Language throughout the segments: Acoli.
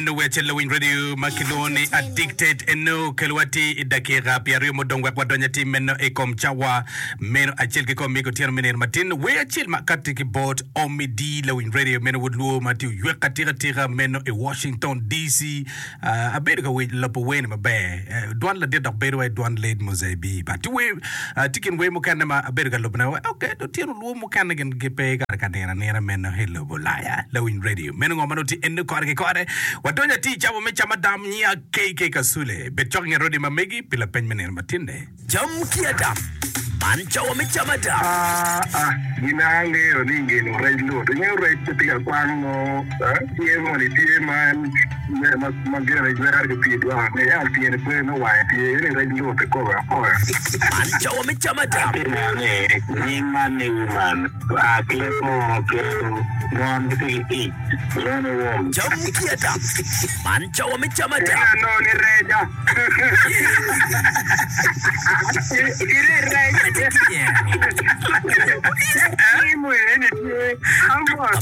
Eno wer acel lawiny radio ma kilwongo ni Addicted eno kelowa atir i dakika pyeraryo mudong wek wadony atir meno i kom cawa meno acel ki kom mego otyeno me nino matin. Wer acel ma kati ki bot Ommy D lawiny radio meno wod lwo ma tye oywek atika tika meno i Washington DC. Ah, abedo ka winyo lobo wer ni maber. Eh, dwan ladit dok bedo wai dwan Lady Mozaibi. But tye wer, ah, tye kin wer mukene ma abedo ka lubone wai okay, otyeno lwo mukene gin gipe kare ka nino anina meno i lobo Ulaya. Lawiny radio meno ngo ma nongo tye eno kore ki kore. Wadonyo atir i cawa me cam adam nyiya KK Kasule. Bed cok i nget radio ma megi pi lapeny me nino matinne. Cam ki adam. Man cawa me cam adam. Aa, gin angeyo ni ngeno rec lut. Ingeyo rec pe tye ka kwang mo, tye moni tye ma en ma gire jwero ki pii dwoko ni ento tyene pe me wange tye eni rec lut ikobe akoya. Man cawa me cam adam. Atye neno ni nying man ni woman oa ki leb munu pien mon gitye ki ic lwongo ni wom. Cam ki adam. Man cawa me cam adam. Ineno ni reca.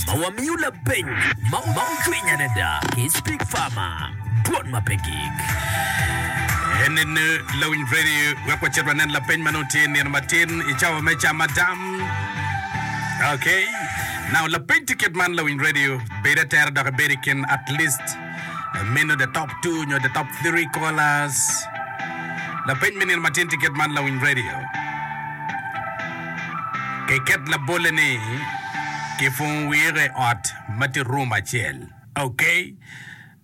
Ma wamiyo lapeny ma ocwiny adada ki Speak Farmer, dwon ma pe gik. Enene lawiny radio wek wacit wanen lapeny ma nongo tye nino matin i cawa me cam adam. Okay. Now lapeny tye kit man lawiny radio bed atera dok ibed i kin at least Meno the top two nyo the top three callers. Lapeny me nino matin tye kit man lawiny radio. Kiket labolle ni kipungo wire i ot ma tye room acel. Okay.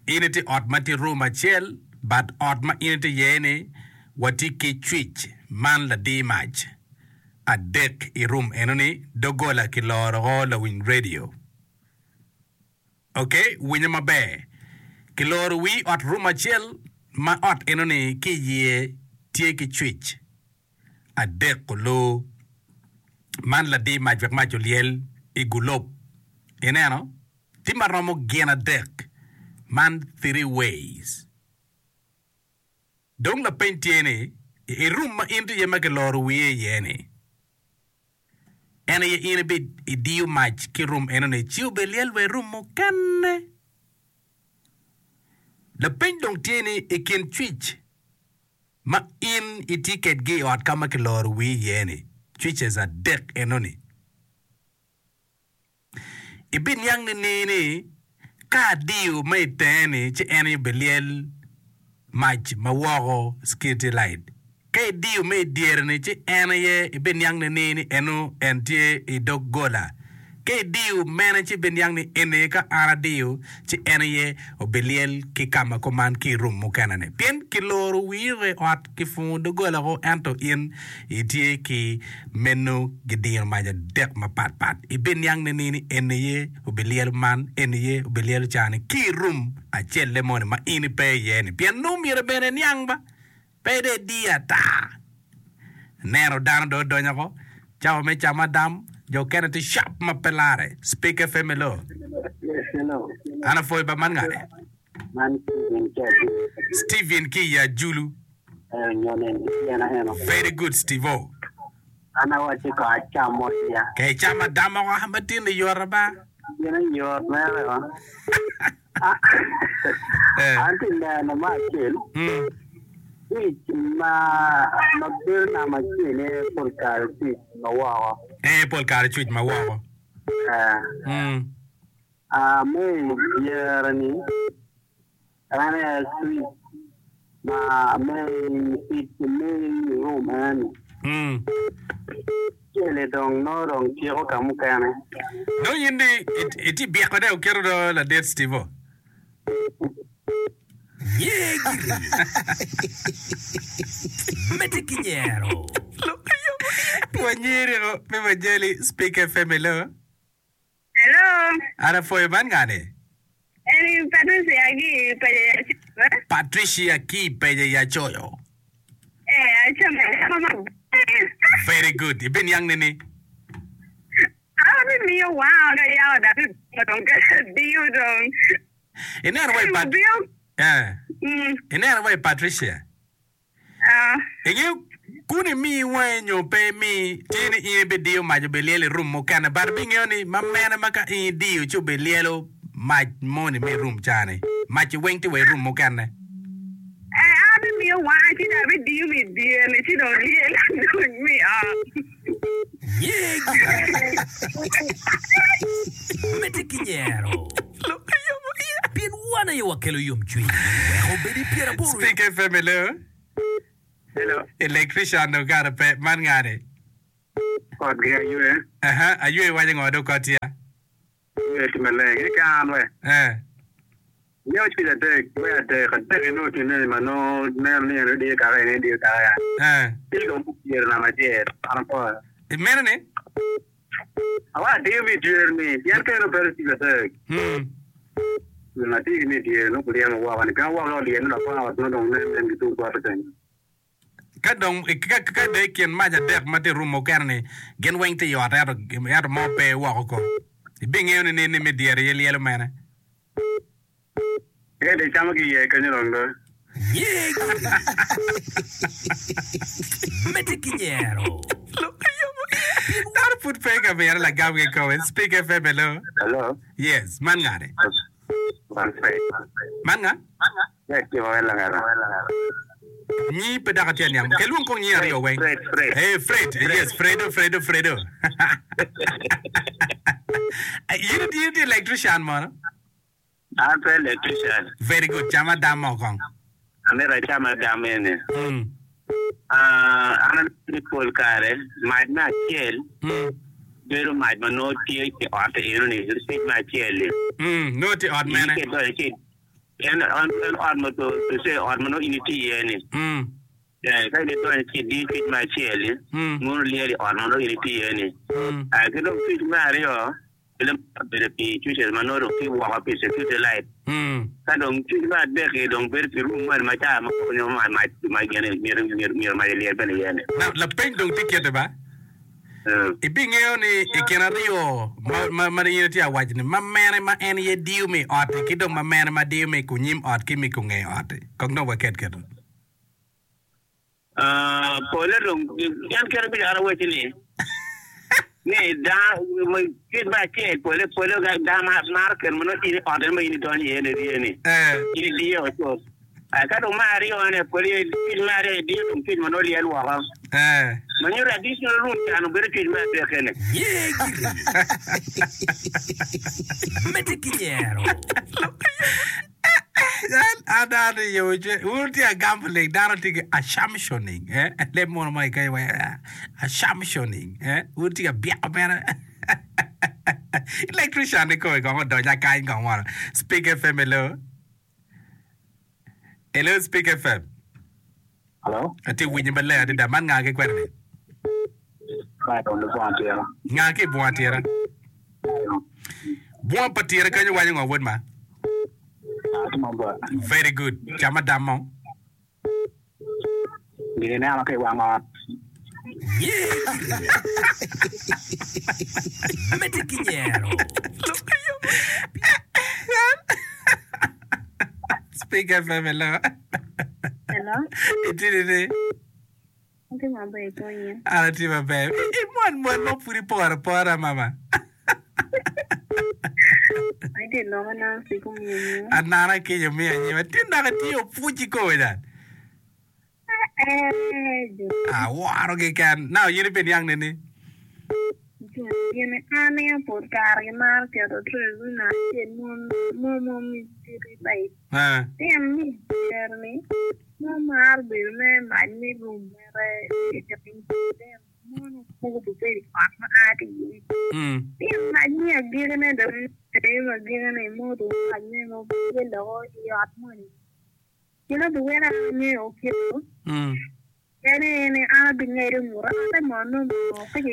In itye ot ma tye room acel but ot ma in itye iye ni watye ki cwic man ladi mac adek i room enoni dogola kiloro o lawiny radio. Ok, winyo maber. Kiloro wii ot room acel ma ot eno-ni ki iye tye ki cwic adek olu. Man ladi mac wek mac olyel i gulob. Ineno? Tye ma romo gin adek. Man three ways. Dong lapeny tye ni, i room ma in tye iye ma kiloro wiye iye-ni, En aye in ibidiyo mac ki rum enoni ci obilyel wa i rum mukene. Lapeny dong tye ni, i kin cwic ma in itye kedgi i ot ka ma kiloro wii iye-ni, cwices adek enoni, Ibiniang nining ni ka adiyo ma i tenge-ni ci en aye obilyel mac ma woko, security light? Ka idiyo ma i dyere-ni ci en aye ibiniang nining ni eno en tye i doggola? Ka idiyo mene ci ibiniang ni eni aye ka an adiyo ci en aye obilyel ki ka ma kuman ki i rum mukene-ni. Pien kiloro wii i ot, kipungo doggola woko ento in itye ki meno gidiro mac adek mapatpat. Ibiniang nining ni eni aye obilyelo man, eni aye obilyelo ca-ni ki i rum acelle moni ma in ipe iye-ni? Pien nongo myero bene iniang ba, pe dong idiyo ata. Ineno dano dong odonyo oko, cawa me camo adam, jo okene tye cap ma pe larre. Speak FM hello. Hello. An apwoyo ba man ngane? Man Steven ki Ajulu. Steven ki i Ajulu. Eh, nyo nen ki tyena eno. Very good Steve-o. An awacci ko acam mot ya. Ka icamo adam oko ma tin ni yot aba. Gin yot mere o. Eh. An ti neno ma acel. Mm. Tic ma ma bedo namba acel aye pol kare tic ma woko. Eh, pol kare cuc ma woko. Eh. Mm. A Me i dyere-ni, en aye cwic ma me i tic me i rum eni. Cel-li dong nongo dong ciko ka mukene. Dong in di itye byeko ne oketo do ladit Steve-o. Nyer giri. Medde ki nyero. Wanyeri o me wajali Speak FM hello. Hello. An apwoyo man nga ni? Eni Patricia ki i Peja ya Coyo. Patricia ki i Peja ya Coyo. Eh, acamo acama maber. Very good. Ibiniang nini? Abimiyo wanga ka yako dok abimiyo dong diyo dong. Ineno wa i Pat- Obio. Eh. Mm. Ineno wa i Patricia. Ingeyo kun imi wangi nyo pe imi, tye ni in ibidiyo mac obilyelo i rum mukene, but ibingeyo ni ma mene ma ka in idiyo ci obilyelo. mac moni me i rum ca-ni. Mac-ci weng tye wa i rum mukene. Ee, an abimiyo wanga ci dong abidiyo mi dyere-ni ci dong lyel dong mi ot. Nye gire. Medde ki nyero. Pien wan aye wakelo yomcwiny. Wek obed i pyeraboro. Speak FM hello. Hello. Electrician dong kare pe. Man ngani? Kotgi aywe. Aha, aywe iwaco ngo dong kotya? Aywe tye maleng. Eka an we. Eh. Nyo cwiny adek, we adek, adek inongo tye ma nongo neno ni en odiyo kaka en ediyo kaka ya. Eh. Ci dong pyere namba acel, an apwoyo. Imeno ni? Awa adiyo mi dyere ni, pien ka en obedo cwiny adek. Mm. Gin atye ki mi dyere nongo guryemo woko ni, pien woko olyel ni lapor ot nongo dong nen nen gitung bote kenyo. Ka dong, ka, ka dong i kin mac adek ma tye i rum mukene-ni, gin weng tye i ot ento, ento mo pe woko ko, ibingeyo nining ni me dyere aye lyelo mene? Ento icamo ki iye kenyo dong do. Nye giri. Medde ki nyero. Dano pud pe ka mito lagam kikome. Speak FM, hello. Hello. Yes, man ngane? Man Fred. Man nga? Fred tye ma langera. Nyi pe dok atye aniang. Ke lwong kong nyi aryo weng. Fred, Fred. Hey, Fred. Yes, Fredo, Fredo, Fredo. In itye itye electrician mono? An pe electrician. Very good. Cam adam mo kong. Amito acam adam eni. Mm. Ah, an aneno ni pol kare mac me acel Mm. bedo mac ma nongo tye i ot eno-ni, switch me acel-li. Mm. Nongo tye i ot In mene? ka idonyo ci en en en ot ma to to say ot ma nongo in itye iye-ni. Mm. Eh, ka in idonyo ci idiyo switch me acel-li, Mm. mono lyel i ot ma nongo in itye iye-ni. Mm. Ah, ki dong switch me aryo, Obedo pi switches ma nongo dong tye woko pi security light. Ka dong switch me adek-ki dong bedo pi room moni ma ca ma koko nyo mac ma gin myero mac olyel bene iye ni. Now, lapeny dong tye kite ba? Ibingeyo ni i kin aryo ma ma in itye ka waco ni ma mene ma en aye diyo me i ot-ti ki dong ma mene ma diyo me i kunyim ot ki me i kunge ot-ti. Kong dong waket keto. Pole dong en kite bica an awacci ni ni dano kit me acel pole pole dano maro keno ma nongo in i ot en ma in idonyo iye ni rye ni in idiye o cut ka dong me aryo ne pole cuc me aryo idiyo dong cuc ma nongo lyel woko ma nyuto additional room can obedo cuc me adek eni. Ye giri. Medde ki nyero. An an i yo ce wun wutye ka gambling dano tye ki assumptioning eh leb munu mo keken wai assumptioning eh wun wutye ka byeko mere electrician ni kome kong odonya kany kong mono speak FM hello hello speak FM Hello. atye winyi maleng adada man nga ki kwene ni Byron Lubongo Tira. Nga ki i bunga tira? Bunga pa tira kenyo waco ngo wod ma? Very good. Cam adam mo. Gin ineno ki i wang ot. Medde ki nyero. Speak FM, hello. Hello. Itye nini? Atye maber konye. An atye maber. Imwon mwon mo pud iporo apora mama. Atye loko Nancy kumiyo nyima. Anana kinya omiyo anyima. Tin dok itye opwuc ikomi dan. Eh, jo. Aworo keken. Now in ibiniang nini? Jo, gin an aye pol kare gimaro keto tray wino acel mo mo mi city light. Eh. Pien ni dyere-ni mo maro bedo me mac me rum mere mono mogo bibedo i ot ma a ki iye. Pien mac me agikine dong aye ma agikine imoto mac me mo tye loko i ot moni. Gin obiweko an angeyo kito.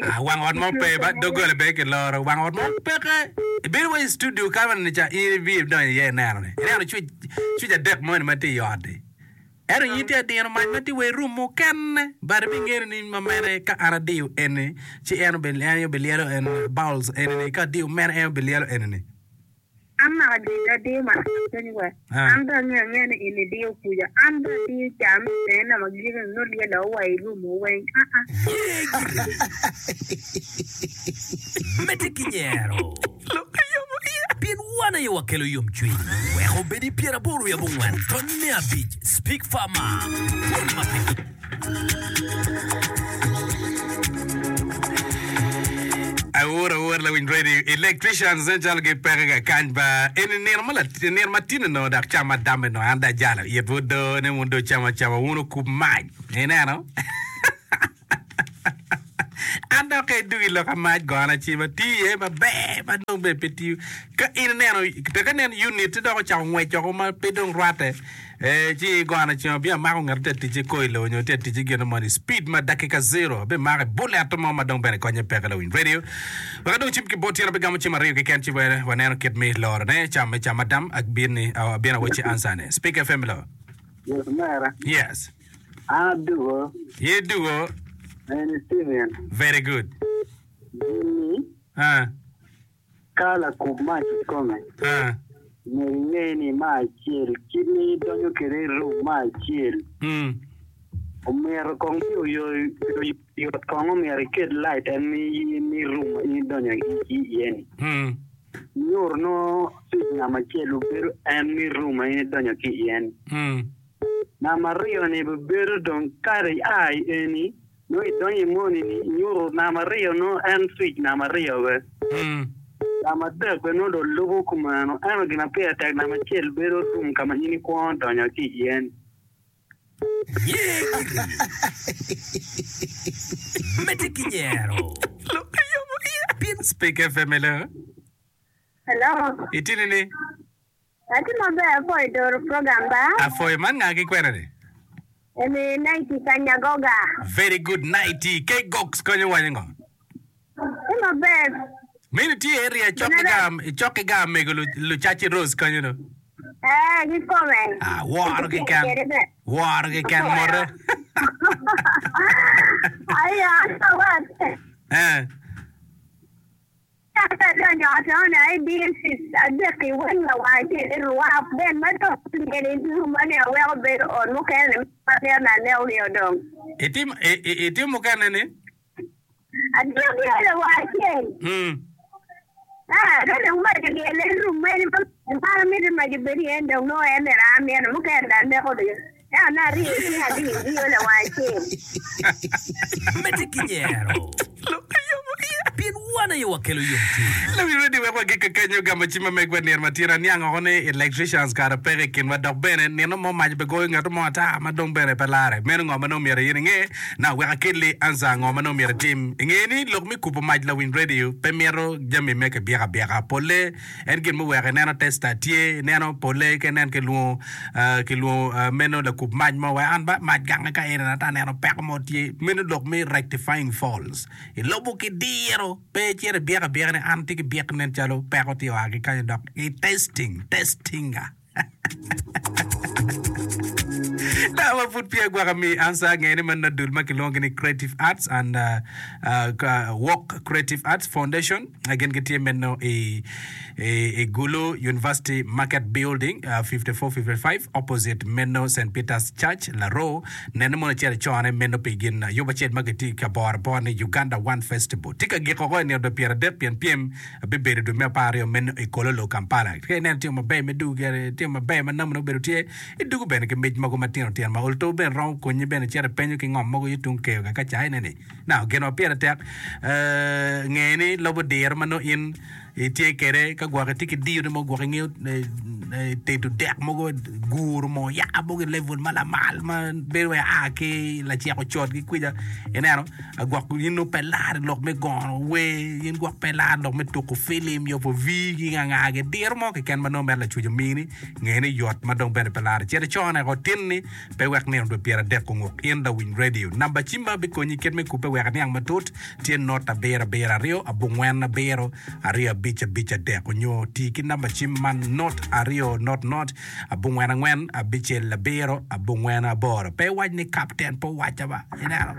Ah, wang ot mo pe ba doggola bene kiloro wang ot mo peke ibedo wa i studio ka ni ca in ibiyo idonyo iye ineno ni ineno cwic cwic adek moni ma tye i ot-ti ento in itye ka dino mac ma tye wa i rum mukene but ibingeno ni ma mene ka an adiyo eni ci en obi en aye obilyelo en bowls eni-ni ka adiyo mene en obilyelo eni-ni. An naka jami adiyo matek kenyo wa. An bene angeyo angeya ni in idiyo kuca. An bene adiyo ca me tenge nama gike ni nongo lyelo wa i room wa weng. Aa. Ye gire. Medde ki nyero. Pien wan aye wakelo yomcwiny. Wek obed i pyeraboro wiye abongwen tony me abic Speak Farmer, Pwony ma pe. Awor awor lawiny radio electricians nen calo gipeke kakany ba eni nino ma nino ma tin onongo dok cam adam onongo an dong ajalo itwu do ni wun dong wucam acama wun wukub mac ineno An dok ka idwogo i lok a mac gona cim atiyo iye maber ma dong bene pe tiyo. Ka in ineno tek inen unit-ti dok ocako ngwec woko ma pe dong rwatte, eh, ci igona cim abino amako ngat tye ka tic ki koilo nyo tye ka tic ki gin moni speed ma dakika zero abimako i bullet mo ma dong bene konye peke lawiny radio. Wek adong cim ki bot tyen abigamo cim aryo keken ci bene waneno kit me lorone cam me cam adam abino abino awacci answer ne. Speak FM lo. Yes, mera. Yes. An adugo. Ye dugo. Eni Steven. Very good. Gin-ni, Ah. ka lakub mac kikome, Ah. myero inge ni me acel, kit ma idonyo kwede i room me acel, Mm. omyero kong mi oyot kong omyero iket light en mi room ma in idonyo iye-ni. Mm. Nyuto nongo switch namba acel obedo en mi room ma in idonyo ki iye-ni. Mm. Namba aryo-ni bibedo dong kadi ia i eni nongo idonyo i moni-ni inyuto namba aryo nongo en cwic namba aryo be. Namba adek bene nongo dong lubo kumeno ento gin ma pire tek namba acel bedo room ka ma in ikwongo donyo ki iye-ni. Nyer giri. Medde ki nyero. Speak FM hello. Hello. Itye nini? Atye maber apwoyo doro program ba. Apwoyo man nga ki kwena ni? Eni Nighty ka Nyagoga. Very good Nighty. K Gox konyo waco ngo? Tye maber. Meno tye area cok ki ga cok ki ga mego lucaci Rose konyo no. Eh kikome. Ah woro keken. Woro keken mote. Aya Eh. Ka adonyo i ot-ni, aye DCs adek-ki weng lawang acel ni rwak ben ma dong lyel i ruma-ni aweko bedo ot mukene-ni ma mito ni anekogi odong. Itimo itimo mukene-ni? Adyogi lawang acel. Ka dong mac olyel i rum meno ma an amito ni mac obed iye-ni dong nongo en myero an amito mukene dong aneko Ento nongo aryeyo cinga adiyo diyo lawang acel. Medde ki nyero, pien wan aye wakelo yomcwiny. Lawiny redio wek wagik kakenyo gamo cim ma megwa nino ma tyen aniang oko ni electricians kara peke i kinwa dok bene nino mo mac be goyo ngat mo ata ma dong bene pe lare. Meno ngo ma nongo myero in inge? Now wek akelli answer ngo ma nongo myero itim. Inge ni lok me kubo mac lawiny redio pe mito jami me kibyek abyeka. Polle En gin muweko ineno testa tye, ineno pole ka inen kilwongo kilwongo meno lakub mac mo wek an ba mac gange ka eni ata aneno peko mo tye meno lok me rectifying faults i lobo ki diro pe icito ibyek abyeka ni an atye ki byek nen calo peko tye oa ki kanyo dok i testing testinga. Dano ma pud peya gwaka mi ansa nge ni man dul ma kilwongo ni Creative Arts and uh, uh, Walk Creative Arts Foundation gin gitye meno i, i, i Gulu University Market Building uh, 5455 opposite meno St. Peter's Church Laro nene mono icito icone meno pi gin yub acel ma gitye ka boro abora ni Uganda One Festival tye ka giko oko i nino dwe 30 pien pyem Bibedo dwe me apararyo meno i Kololo, Kampala. Ka ineno timo maber me dugu gire, timo maber ma namone obedo tye, idugo bene ki mic mogo matino tino ma ol to bene romo konyi bene cito ipenyo ki ngom mogo yo tung keyo ka ca ineni. Now, gin ma pire tek, eh, nge ni lobo diro ma nongo in itye kwede ka gwok itye ki diyo ni mo gwok ingeyo eh, tedo dek mogo, guro mo ya mogo i level ma lamal ma bedo wai a ki lacek ocot ki kwica ineno. Gwok in nongo pe laro i lok me gono wer, in gwok pe laro i lok me tuko filim, yubo vii ki ngangagi, diro mo keken ma nongo mere Lacwec omini, nge ni yot ma dong bene pe laro. Cit icone oko tin-ni, pe iwek nino dwe pyeradek onguk. In lawiny redio, namba cim ma bikonyi kit me kubbe wek iniang matut tye not abiro abiro aryo abongwen abiro aryo abic abic adek onyo ti ki namba cim man not aryo not not abongwen angwen abicel abiro abongwen aboro. Pe iwac ni kapten pe owacca ba. Ineno?